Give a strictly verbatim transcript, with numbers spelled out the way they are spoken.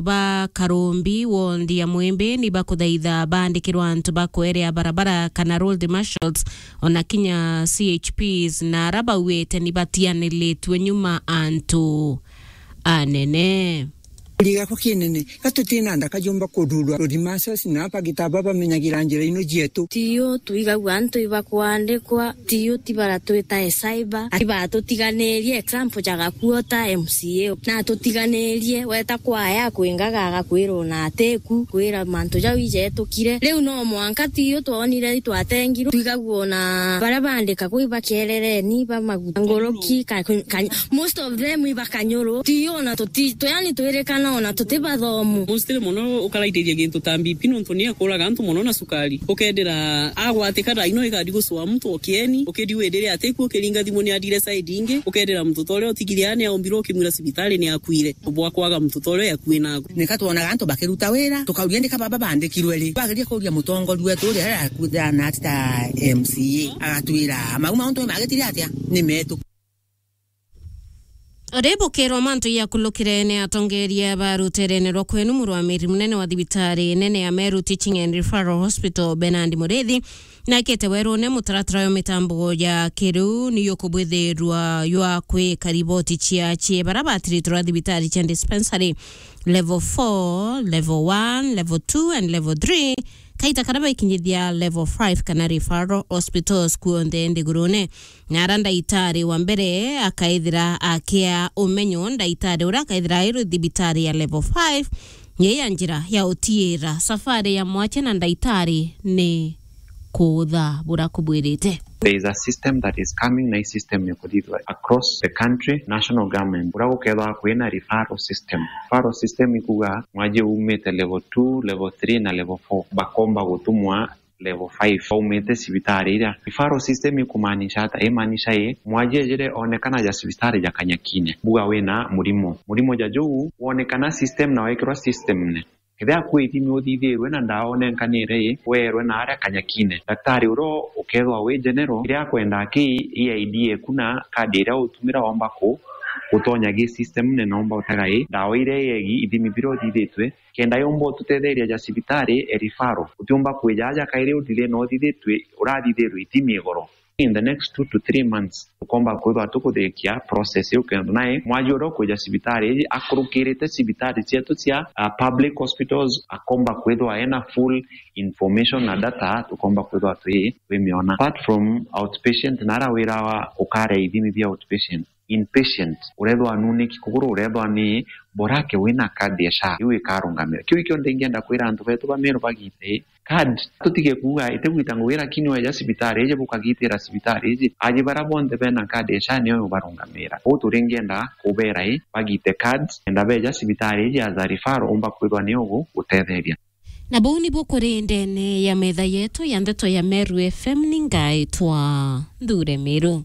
ba Karumbi, wondi ya Mwimbi, ni bakuthaitha baandikirwa antu ba kwerea barabara kana road marshals, ona kinya C H Ps, na ara bauite ni batianiritue nyuma antu anene. Kuri gakwa kinene, ga tutina nda kajumba kuthurwa, road marshals na bagita bamenyagira njira ino cietu. Tiyo twigagua antu ibakwandikwa, tiyo ti baratwita e cyber, ati batutiganirie example ja Gakuo ta M C A. Na tutiganirie, weta kwaya kwingaga agakwira ona atiku, kwira mantu jau ijetukire. Riu no mwanka tiyo twonire itwatengirwe, twigagua ona baria bandika kwi bakerereni, ba maguta nguruki, ka, ka, most of them iba Kanyuru. Tiyo ona tuti, tu, yani twirikana ona tuti bathomu. Mostly mono ukaraithiria gintu ta B P nontu ni akuraga antu mono na cukari. Ukendera agwatika thaa ino igadi gucua muntu o kieni, ukidi windire atiku ukiringa thimu ni adire side ingi, ukendera muntu ta uria utigire ani aumbirwe ukimwira cibitari ni akuire. Bwa kwaga muntu ta uria yakui naku. Nika twonaga antu bakiruta wira, tukauria ndika baba bandikirwe ri. Twageria kuria mutongoria wetu uria akuthana ati ta M C A, agatwira mau mauntu magitire atia ni metu. Uri bukirwa mantu yakulukire ni atongeria ba ruterene rwa kwenu, murwamiri munene wa thibitari nene ya Meru Teaching and Referral Hospital, Bernard Murithi, nakite werune mutaratara wa mitambo ya kiriu ni yukubwithirwa ywa kwika riboti cia cie bara batiritwe rwa thibitari cia dispensary level four, level one, level two and level three, kaita karia baikinyithia level five kana referral hospitals kuonthe nthigurune. Na ara ndaitari wa mbere akaithira akia umenyo, ndaitari uria akaithira airwe thibitari ya level five, ni ya njira ya utiira safari ya mwache na ndaitari ni kuutha bura kubwirite. There is a system that is coming, na hii system ni kuthithwa across the country, national government. Bura gukethwa kwina referral system. Referral system ikuga mwaje umite level two, level three na level four, bakomba gutumwa level five, baumite cibitari iria. Referral system ikumaanisha ata? Imaanisha ii, mwaji ejire onekana ja cibitari ja Kanyakine, buga wina murimo. Murimo ja juu wonekana system na wekirwa system ne. Kethira kwi ithimi uthithirwe na ndawa unenkanire ii, weerwe na aria Kanyakine. Daktari uria ukethwa wi general, kiria akwenda ki E I D eku na kadi iria utumira omba ku, gutonya gi system ne nomba utega ii, ndawa iria iegi, ithimi biria uthithitwe, kenda yumba ututetheria ja cibitari e referral. Utiumba kwija aja kairi udile no uthithitwe, urathithirwe ithimi igoro. In the next two to three months, tukomba kwithwa tukuthikia process iu kenda nae mwaji uria ukwija cibitari iji akurukirite cibitari cietu cia, uh, public hospitals, akomba kwithwa ena full information na data, tukomba kwithwa twi, twimiona. Apart from outpatient, na ara wira wa ukaria ithimi bia outpatient, inpatient, urethwa nuniki kuguru, urethwa ni borake wina kadi ya SHA, iu ikarungamira. Kiu ikio ndingienda kwira antu betu ba Meru bagite kadi. Tutige kuuga itigwita ngugi, lakini weja cibitari iji, bukagitira cibitari iji, aji bara bonthe bena kadi ya SHA nio ubarungamira. Uu turingienda kubera i bagite kadi, kenda beja cibitari iji as a referral, umba kwithwa ni ugu gutetheria. Na buu nibu kuri ndene ya metha yetu ya ndeto ya Meru F M, ni ngaitwa Nthure Miru.